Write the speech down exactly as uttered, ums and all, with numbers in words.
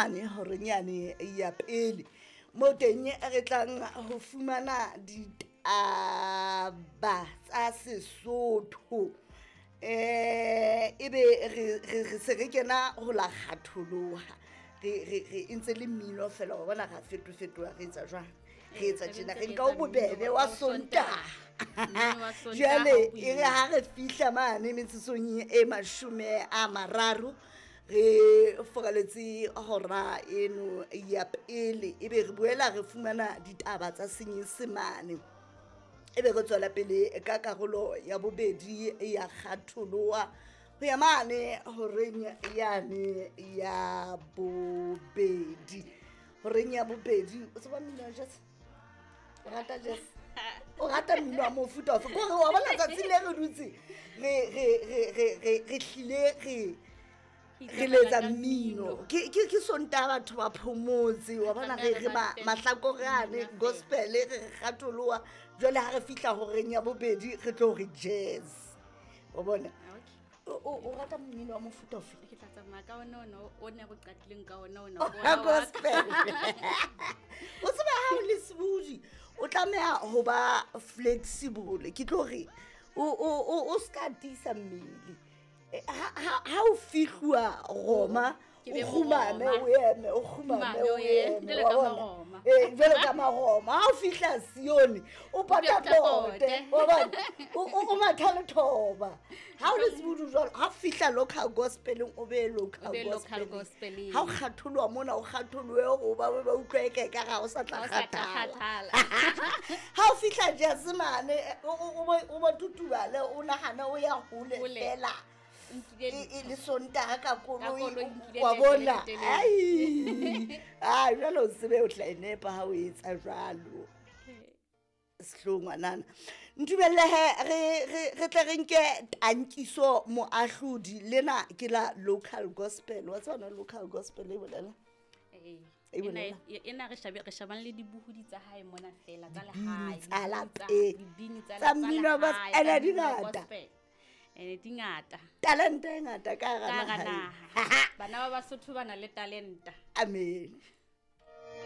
mane horeng yane ya pele mo teng re tlang ho fumana ditaba tsa Sesotho. Eh ebe re re se re kena ho la kgatholoha, re re re ntse le mmino fela wa bona, ra fetofetoha, re etsa jwang, re etsa tjena, re nka o bobebe wa Sontaha. Jwale e re ha re fihla mane metsotsong e mashome a mararo re foraletse hora eno ya pele, ebe re boela re fumana ditaba tsa Senyesemane, ebe re tswela pele ka karolo ya bobedi ya kgatholoha ho ya mane horeng yane ya bobedi. Horeng ya bobedi o tseba mmino wa jazz? O rata jazz? O rata mmino wa mofuta ofe? Kore wa bona tsatsi le re dutse re re re re re re hlile re re letsa mmino, ke ke ke Sontaha batho ba phomotse wa bona, re re mahlakore ane gospel re kgatholoha. Jwale ha re fihla horeng ya bobedi re tlo re jazz wa bona. O rata mmino wa mofuta ofe? Ke tla tsamaya ka ona ona o ne re qadileng ka ona ona wa gospel. O tseba ha o le sebudi o tlameha ho ba flexible, ke tlo re o o o ska tiisa mmele. Ha ha o fihluwa Roma o kgumame o eme, o kgumame o eme eh jwalo ka Maroma. Ha o fihla Sione o patapote wa bona, o matha le thoba. Ha o le sebudu jwalo, ha o fihla local gospeleng o be local gospeleng. Ha o kgatholoha mona o kgatholohe o ba ba utlwe eke ka ga o sa tla kgathala. Ha o fihla jazz mane o ba tutubale o nahana o ya hole fela e le Sontaha ka koloi wa bona. Ai ah jwale o tsebe o tla enepa ha o etsa jwalo. Sehlo ngwanana ntumelle re re tle re nke tankiso moahlodi lena ke la local gospel. Wa tsona local gospel e bolela eh ena re shabe re shabang le dibuhudi tsa hae mona fela tsa lehae tsa lapeng dibini tsa mmino ba ena di ngata ene di ngata talente e ngata ka hara naha. Bana ba Basotho ba na le talenta. Amen.